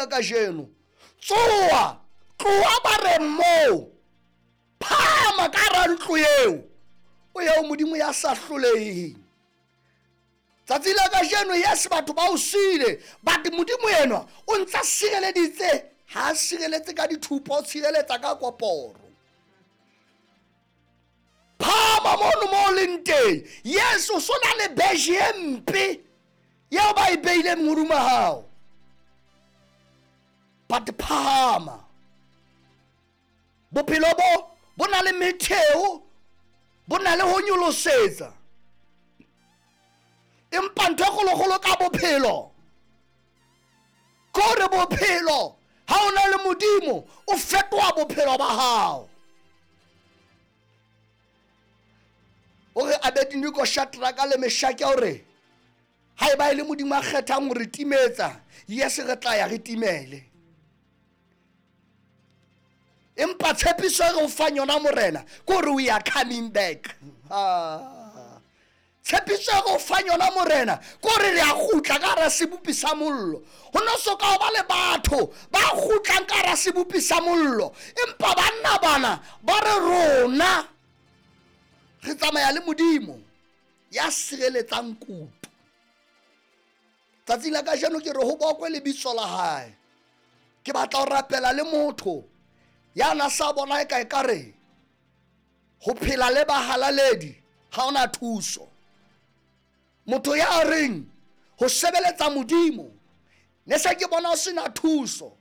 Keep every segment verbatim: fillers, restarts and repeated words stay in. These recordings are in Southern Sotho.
la kajeno, tsoha, tloha ba re moo, phahama ka hara ntlo eo, o ye ho Modimo ya sa hloleheng. Tsatsi la kajeno, yes, batho ba o siile, but Modimo enwa o ntsa sireleditse, ha a sireletse ka dithupa, o tshireletsa ka koporo. Phahama mono mo o leng teng. Yes, o so na le beige e mpe eo ba e beileng hodima hao, but phahama. Bophelo bo bo na le metheo, bo na le ho nyolosetsa, empa ntho e kgolokgolo ka bophelo ke hore bophelo ha o na le Modimo o fetoha bophelo ba hao. O re Abednego, Shadraka le Meshake, hore ha eba e le Modimo a kgethang ho re timetsa, yes, re tla ya re timele. Empa tshepiso e re o fang yona Morena ke hore we are coming back. Ah. Tshepiso e re o fang yona Morena ke hore re a kgutla ka hara sebopi sa mollo. Ho no so ka ho ba le batho ba kgutlang ka hara sebopi sa mollo, empa banna bana ba re rona re tsamaya le Modimo ya sireletsang kutu. Tsatsi la kajeno ke re ho bokwe lebitso la hae. Ke batla ho rapela le motho ya na sa bona e ka ekare ho phela le bahalaledi ha ona thuso. Motho ya reng ho sebeletsa Modimo ne se ke bona ho sena thuso.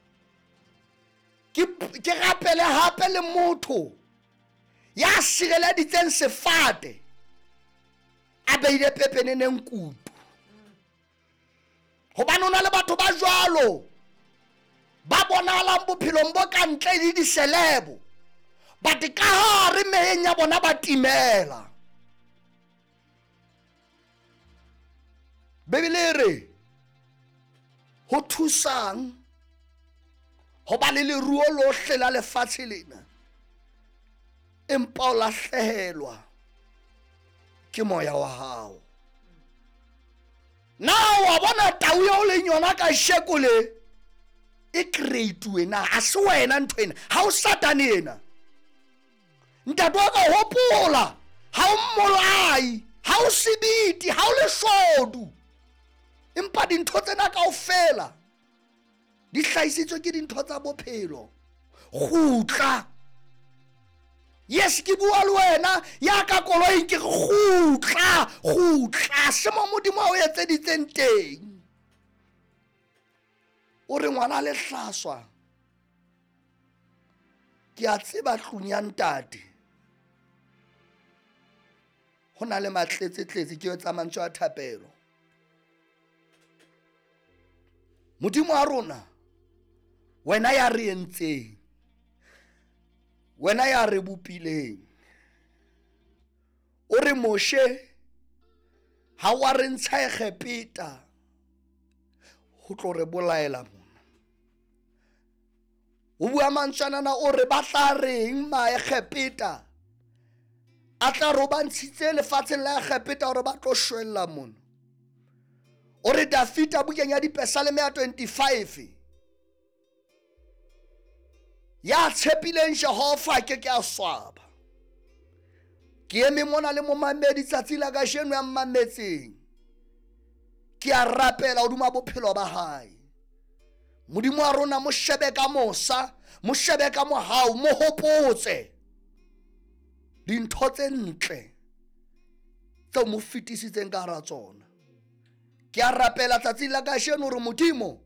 Ke, ke rapele hape le motho ya sireleditseng sefate a beile pepeneneng kutu. Hobane ho na le batho ba jwalo ba bonahalang bophelong bo ka ntle le diselebo, but ka hare meyeng ya bona ba timela. Bibele e re ho thusang ho ba le leruo lohle la lefatshe lena, empa o lahlehelwa ke moya wa hao. Na wa bona tau eo leng yona kasheko le e create-uwe na? Ha se wena ntho ena, ha o Satane ena. Ntate wa ka, hopola, ha o mmolai, ha o sebiti, ha o leshodu, empa dintho tsena kaofela di hlahisitswe ke dintho tsa bophelo. Kgutla. Yes, ke bua le wena ya ka koloing, ke re kgutla, kgutla, se mo Modimo a o etseditseng teng. O re ngwana le hlaswa, ke a tseba tlung ya ntate ho na le matletsetletse, ke etsa mantswe a thapelo. Modimo wa rona, wena ya re entseng, wena ya re bopileng, o re Moshe ha wa re ntsha Egepeta ho tlo re bolaela mona. O bua mantswanana, o re ba tla reng Maegepeta a tla re o ba ntshitse lefatsheng la Egepeta hore ba tlo shwella mona. O re Dafita bukeng ya Dipesaleme ya twenty-five, ya tshepileng Jehova ke ke a swaba. Ke eme mona le momamedi tsatsi la kajeno ya mmametseng, ke a rapela hodima bophelo ba hae. Modimo wa rona mo shebe ka mosa, mo shebe ka mohau, mo hopotse dintho tse ntle tseo mo fetisitseng ka hara tsona. Ke a rapela tsatsi la kajeno hore Modimo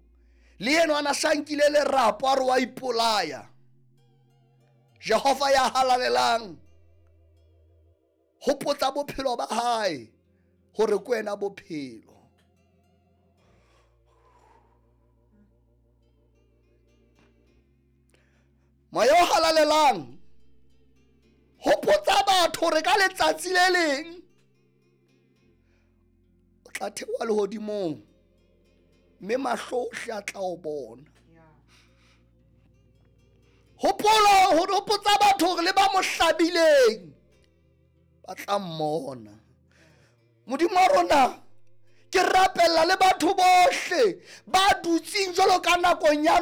le yena a na sa nkile lerapo a re wa ipolaya. Jehova ya halalelang, hopotsa bophelo ba hae hore ke wena bophelo. Moya o halalelang, hopotsa batho hore ka letsatsi le leng o tla theoha lehodimong mme mahlo ohle a tla o bona. Hopola ho hopotsa batho hore le ba mo hlabileng ba tla mmona. Modimo wa rona, ke rapella le batho bohle ba dutseng jwalo ka nakong ya